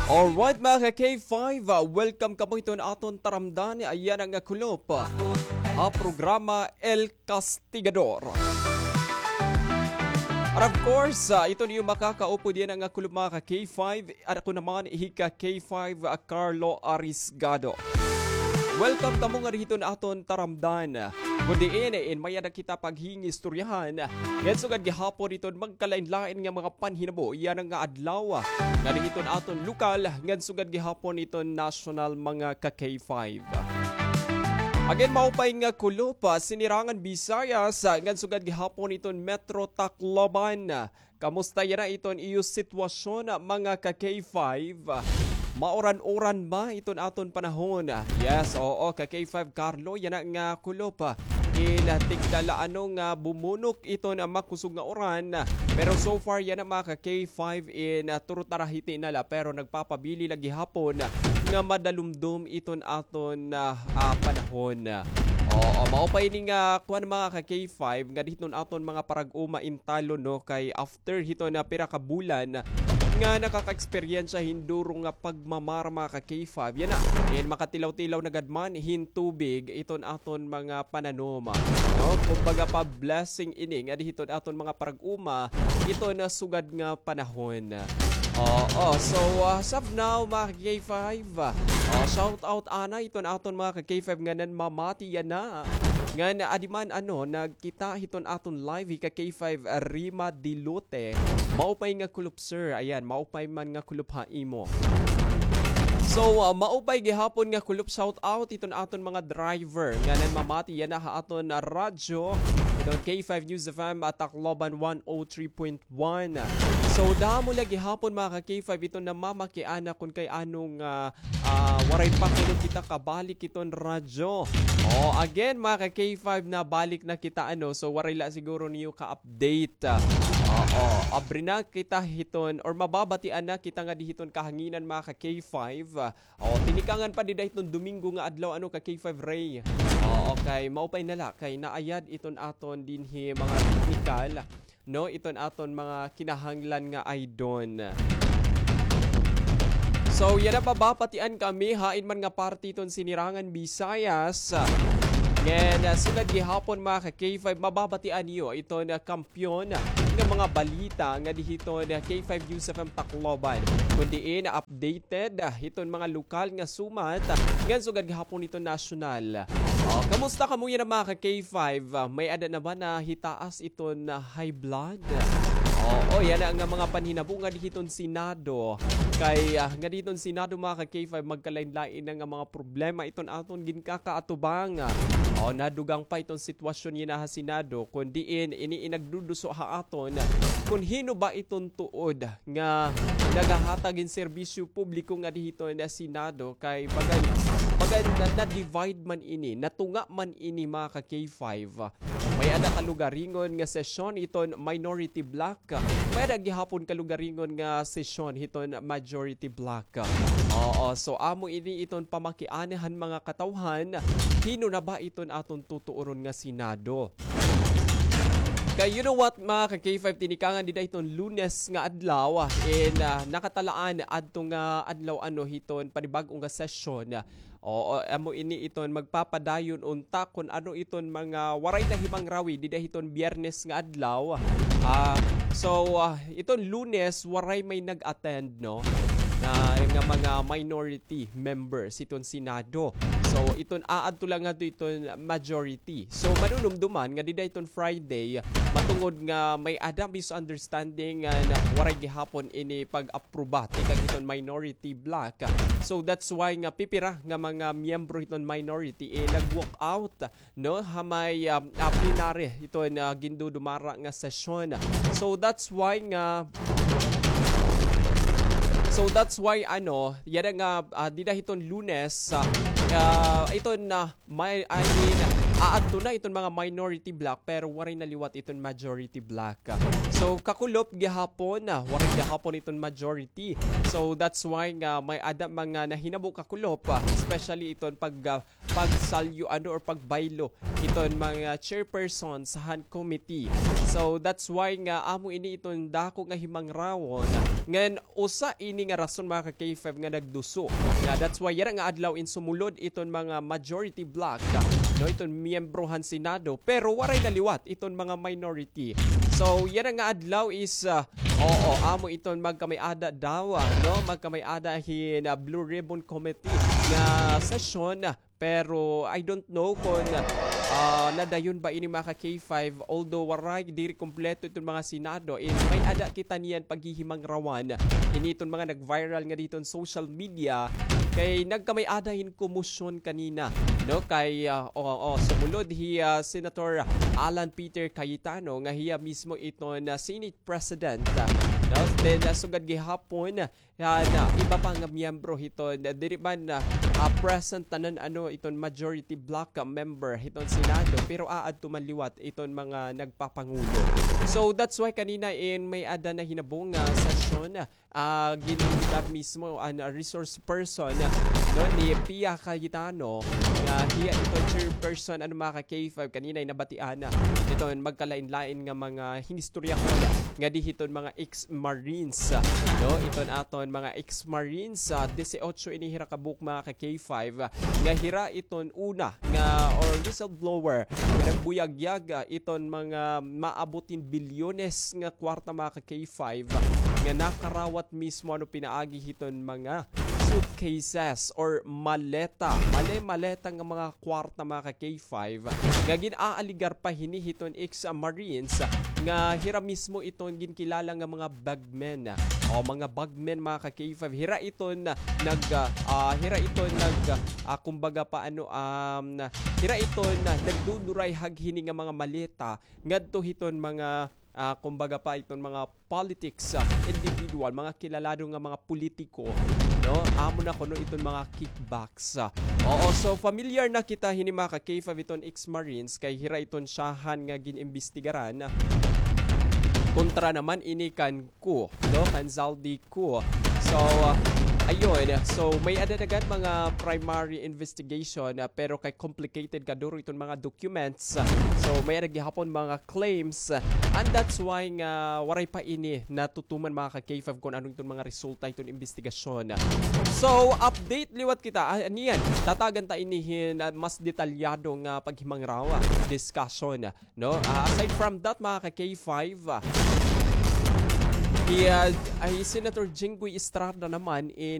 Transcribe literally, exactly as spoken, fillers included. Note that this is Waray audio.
Alright, mga ka-K five, ah, welcome kamo hiton aton taramdan. Yana nga kulop, ah, ha programa El Castigador. And of course, ah, iton iyo makakaupod yana nga kulop, mga ka-K five. Ako naman, hi ka-K five, ah, Carlo Arisgado. Welcome kamo ngadi hiton aton taramdan. Kundi ini, in may-ada kita paghingistoryahan ngan sugad gihapon iton magkalain-lain nga mga panhinabo yana nga adlaw, ngadi hiton aton lokal ngan sugad gihapon iton national, mga ka-K five. Again, maupay nga kulop, ah, Sinirangan Visayas, ah, ngan sugad gihapon iton Metro Tacloban. Kamusta yana iton iyo sitwasyon, mga ka-K five? Mauran-uran ba iton aton panahon? Yes, oo, ka-K five Carlo, yana nga kulop, ah, in, ah, tigda la ano nga bumunok iton, ah, makusog nga uran. Pero so far, yana, mga ka-K five, in, ah, turutara hiti na la, pero nagpapabili la gihapon nga madalumdom iton aton, ah, ah, panahon. Oo, maupay ini nga kuan, mga ka-K five, ngadi hiton aton mga parag-uma in talon, no, kay after hiton nga pira ka bulan nga nakaka-eksperyensya hin duro nga pagmamara, mga ka-K five. Yana, in makatilaw-tilaw na gad man hin tubig iton aton mga pananom, no? Kumbaga pa blessing ini ngadi hiton aton mga parag-uma iton sugad nga panahon. Oo, so, ah, as of now, mga ka-K five, ah, shout out ana iton aton mga ka-K five nga nanmamati yana. Ngan adi man, ano, nagkita hiton aton live, hi ka-K five Rima Dilote. Maupay nga kulop, sir. Ayan, maupay man nga kulop ha imo. So, ah, maupay gihapon nga kulop, shout out hiton aton mga driver nga nanmamati yana ha aton, ah, radyo. Hiton K five News F M at Tacloban one oh three point one. So, damo la gihapon, mga ka-K five, iton namamakiana kun kay ano nga, ah, waray pa kuno kita kabalik iton radyo. Oh, again, mga ka-K five, nabalik na kita, ano, so waray la siguro niyo ka-update. Oo, abri na kita hiton, or mababatian na kita ngadi hiton kahanginan, mga ka-K five. O, tinikangan pa dida hiton Domingo nga adlaw, ano, ka-K five Ray. O, okay, maupay na la kay naayad iton aton dinhi mga teknikal, no, iton aton mga kinahanglan nga aydon. So, yana, mababatian kami hain man nga parte iton Sinirangan Visayas. Ngan, ah, sugad gihapon, mga ka-K five, mababatian niyo iton, ah, kampiyon nga mga balita ngadi hiton K five News F M Tacloban. Kun diin updated hiton mga lokal nga sumat, ngan sugad gihapon hiton nasyonal. O, kamusta kamo yana, mga ka-K five? May-ada na ba nahitaas iton high blood? Oo, yana nga mga panhinabo ngadi hiton Senado. Kay, ah, ngadi hiton Senado, mga ka-K five, magkalain-lain na nga mga problema iton aton ginkakaatubang. O, nadugang pa iton sitwasyon yana ha Senado, kun diin ini in nagduduso ha aton kun hin-o ba iton tuod nga nagahatag hin serbisyo publiko ngadi hiton Senado, kay bagan, bagan na, na-divide man ini, natunga man ini, mga ka-K five. May-ada kalugaringon nga sesyon hiton minority bloc. May-ada gihapon kalugaringon nga sesyon hiton majority bloc. Oo, so amo ini iton pamakiana han mga katawhan. Hin-o na ba iton aton tutuoron nga Senado? Kay you know what, mga ka-K five, tinikangan dida hiton Lunes nga adlaw, in, ah, nakatalaan adto nga adlaw, ano, hiton panibag-o nga sesyon. Oo, amo ini iton magpapadayon unta kun ano iton mga waray nahimangrawi dida hiton Biyernes nga adlaw. Ah, so, ah, iton Lunes, waray may nag-attend, no, na, nga mga minority members hiton Senado. So, iton aadto la ngadto iton majority. So, manunumduman nga dida hiton Friday, matungod nga may-ada misunderstanding nga na, waray gihapon ini pag-apruba tikang hiton minority bloc. So, that's why nga pipira nga mga miyembro hiton minority, eh, nag-walk out, no, ha may, um, ah, plenary hiton, ah, gindudumara nga sesyon. So, that's why nga, so, that's why, ano, yana nga, ah, dida hiton Lunes, ah, ah, iton, ah, May, I mean, aadto na iton mga minority bloc, pero waray na liwat iton majority bloc. So, kakulop gihapon, ah, waray gihapon iton majority. So, that's why nga may-ada mga nahinabo kakulop, ah, especially iton pag, ah, pagsalyo, ano, or pagbaylo iton mga chairpersons han committee. So, that's why nga amo ini iton dako nga himangrawon. Ngan, usa ini nga rason, mga ka-K five, nga nagduso. Nga, that's why yana nga adlaw in sumulod iton mga majority bloc, no, iton miyembro han Senado, pero waray na liwat iton mga minority. So, yana nga adlaw is, ah, oo, amo iton magkamay-ada daw, ah, no, magkamay-ada hin, ah, Blue Ribbon Committee nga sesyon, ah, pero I don't know kon, ah, nadayon ba ini, mga ka-K five, although waray diri kompleto iton mga Senado, is may-ada kita niyan paghihimangrawan. Ini iton mga nag-viral nga didto han social media, kay nagkamay-ada hin komosyon kanina, no? Kay, ah, oo, oo, sumulod hi, ah, Senator Alan Peter Cayetano nga hiya mismo iton, ah, Senate President, ah, no? Then, ah, sugad gihapon, ah, na iba pa nga miyembro hiton, ah, diri man, ah, ah, present tanan, ano, iton majority bloc, ah, member hiton Senado, pero aadto man liwat iton mga nagpapangulo. So, that's why kanina in may-ada nahinabo nga sesyon, ah, ah, ginhundar mismo an, ah, resource person, ah, no, ni Pia Cayetano, nga hiya iton chairperson, ano, mga ka-K five, kanina in nabatian na iton magkalain-lain nga mga hinistoryahon nga di hiton mga ex-marines, ah, no, iton aton mga ex-marines, ah, dieciocho ini hira ka buok, mga ka-K five, ah, nga hira iton una nga, or whistleblower, nga nagbuyagyag, ah, iton mga maabot hin bilyones nga kwarta, mga ka-K five, ah, nga nakarawat mismo, ano, pinaagi hiton mga suitcases or maleta, male-maleta nga mga kwarta, mga ka-K five, nga gin-aaligar pa hini hiton ex-marines, nga hira mismo iton ginkilala nga mga bagmen, o mga bagmen, mga ka-K five. Hira iton nag, ah, hira iton nag, ah, kumbaga pa, ano, um, hira iton nagdudurayhag hini nga mga maleta ngadto hiton mga, ah, kumbaga pa, iton mga politics, ah, individual, mga kilalado nga mga politiko, no? Amo na kuno iton mga kickbacks, ah. Oo, so familiar na kita hini, mga ka-K five, iton ex-marines, kay hira iton syahan nga gin-imbestigaran, ah, kontra naman ini kan Koo, no, kan Zaldy Koo. So, uh, ayun. So, may-ada na gad mga primary investigation, uh, pero kay complicated kaduro iton mga documents. So, may-ada gihapon mga claims. And that's why nga waray pa ini natutuman, mga ka-K five, kon ano iton mga resulta iton investigasyon. So, update liwat kita. Ah, niyan, tatagan ta ini hin, ah, mas detalyado nga paghimangraw, discussion. No? Ah, aside from that, mga ka-K five, ah, hi, ah, hi Senator Jinggoy Estrada naman in